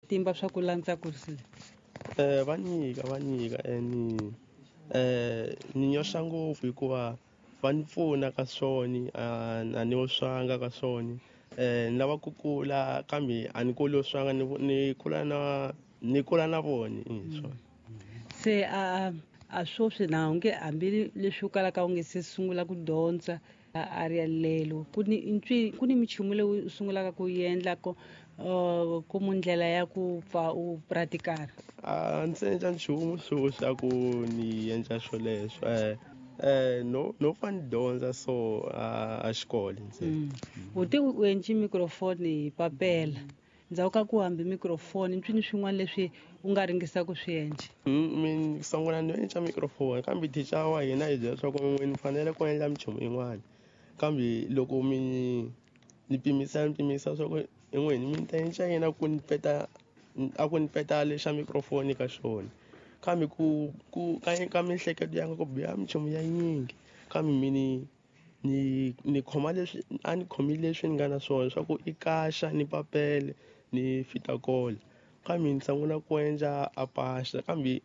Timba swa ku landza kurisile. Va nyika ni ni nyoxa ngopfu hikuva va ni pfuna ka swona, a ni oswanga ka swona. Ni lava ku kula kambe a ni kuli oswanga, ni kula na ni kula na vona swona. Se a sweswi na unge hambi leswi u kalaka u nge se sungula ku dyondza a ri yalelo ku ni minchumu leyi u sungulaka ku endla ko ku ndlela ya ku pfa u pratikara. A ndzi endla nchumu sweswi a ku ni endla swoleswo, no fa ni dyondza so a xikolo ntsena. U te u endli microphone hi papela, ndzhaku ka ku hambi microphone mpfini swin'wana leswi u nga ringisa ku swi endla? Mi sungula ni endla microphone kambe teacher wa hina hi byela leswaku ni fanele ku endla minchumu yin'wana, kambe loko mi ni pimisa swa ku en'wini mi ta endla yini ku ni peta a ku ni peta lexa microphone ka xona, kambe ku ka miehleketo ya nga ku biha minchumu ya nyingi, kambe mi ni khoma leswi a ni khomile leswi ni nga na swona swa ku i kaxa ni papele ni fita kola, kambe ni sungula ku endla a paxa, kambe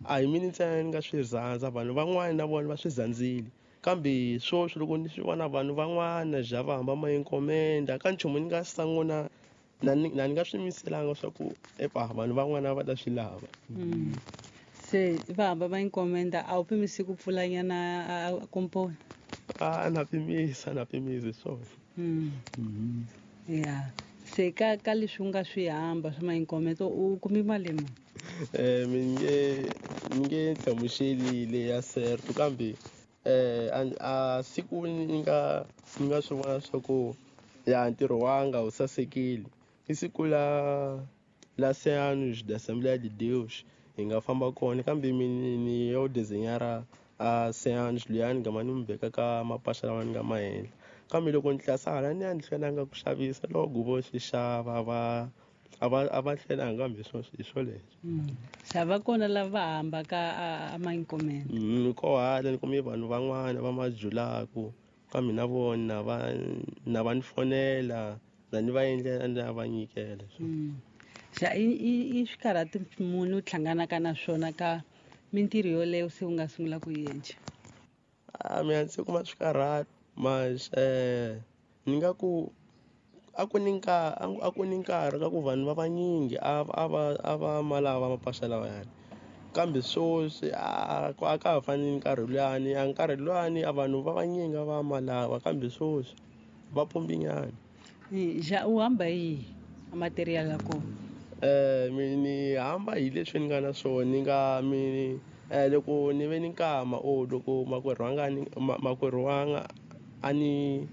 a hi mina ntsena ni nga swi rhandza, vanhu van'wana na vona va swi rhandzile, kambe sweswi loko ni swi vona vanhu van'wana ja va hamba ma enkomenda ka nchumu ni nga sungula na ni nga swi yimiselanga swa ku epa vanhu van'wana va ta swi lava. Se va hamba va enkomenda, a wu pimisi ku pfulanyana komponi? A na pimisa swona. Ya se ka leswi u nga swi hamba swa mainkometo u kumi mali muni? Mi nge hlamuseli le ya certo, kambe a siku ni nga swi vona swa ku ya ntirho wanga wu sasekile i siku la Anos da Assembleia de Deus hi nga famba kona, kambe ni yo designer a Anos luya ni gama ni n'wi veka ka mapasha lawa ni nga ma endla, kambe loko ni tlasa hala ni ya ni hlwelanga ku xavisa loko vo swi xava va a va hlwelanga, kambe hi swoleswo. Se va kona lava va hambaka a mainkomende? Ko hala ni kume vanhu van'wana va majulaku, kambe na vona na va ni fonela na ni va endlela ni va nyikela. Xa i swikarhati munhu u hlanganaka na swona ka mintirho yoleyo se u nga sungula ku yi endla? A mina ndzi kuma swikarhati mas ni nga ku a ku ni nkarhi ka ku vanhu va vanyingi a va ma lava mapasha lawayani, kambe sweswi a ka ha fani ni nkarhi luyani, a nkarhi luyani a vanhu va vanyingi a va ma lava, kambe sweswi va pumbinyana. Ja u hamba hi material ya kona? Mi ni hamba hi leswi ni nga na swona, ni nga mi loko ni ve ni nkama o loko makwerhu wanga a ni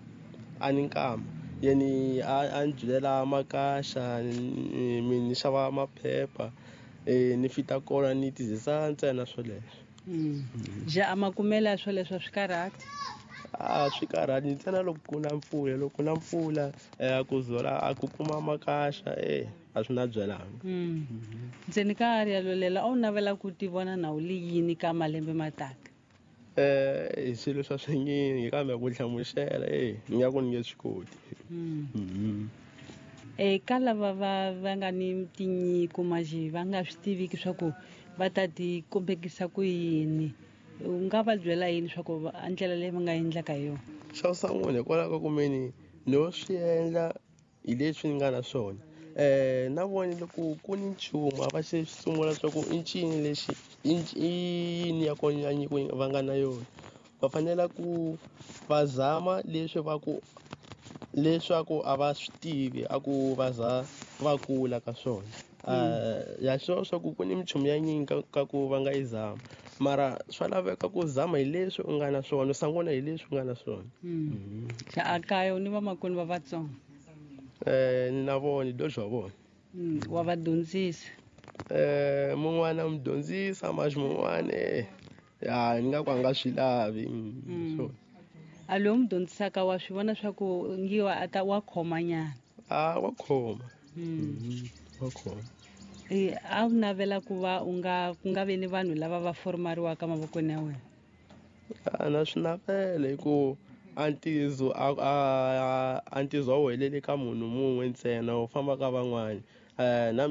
nkama yeni a ni byilela makaxa, mi ni xava maphepha, ni fita kona ni tizisa ntsena swoleswo. Ja a makumela swoleswo swi karhati? A swi karhati ntsena loko ku na mpfula, loko ku na mpfula ku zola a ku kuma makaxa a swi na byelanga. Ntseni ka area lolela a wu navela ku ti vona na u li yini ka malembe mataka? Hi swilo swa swinyingi, kambe ku hlamusela ni nga ku ni nge swi koti. Ka lava va nga ni tinyiko manje va nga swi tiviki swa ku va ta ti kombekisa ku yini, u nga va byela yini swa ku ndlela leyi va nga endlaka hi yona? Xa ku sungula hikwalaho ka ku meni no swi endla hi leswi ni nga na swona, na vona loko ku ni nchumu a va xi sungula swa ku i ncini lexi i yini ya kona ya nyiko va nga na yona, va fanele ku va zama leswi va ku leswaku a va swi tivi a ku va za va kula ka swona. Ya swona swa ku ku ni minchumu ya nyingi ka ku va nga yi zama, mara swa laveka ku zama hi leswi u nga na swona, u sungula hi leswi u nga na swona. Xa a kaya u ni vamakwenu va vatsongo? Ni na vona, dojo wa vona. Wa va dyondzisa? Mun'wana mi dyondzisa, mas mun'wana ya ni nga ku a nga swi lavi. So a loyi mi dyondzisaka wa swi vona swa ku ngiwa a ta wa khoma nyana? A wa khoma. Wa khoma. A wu navela ku va u nga ku nga vi ni vanhu lava va formariwaka mavokweni ya wena? A na swi navela hi ku a ntizo a ntizo a wu heleli ka munhu mun'we ntsena, wu famba ka van'wani. Na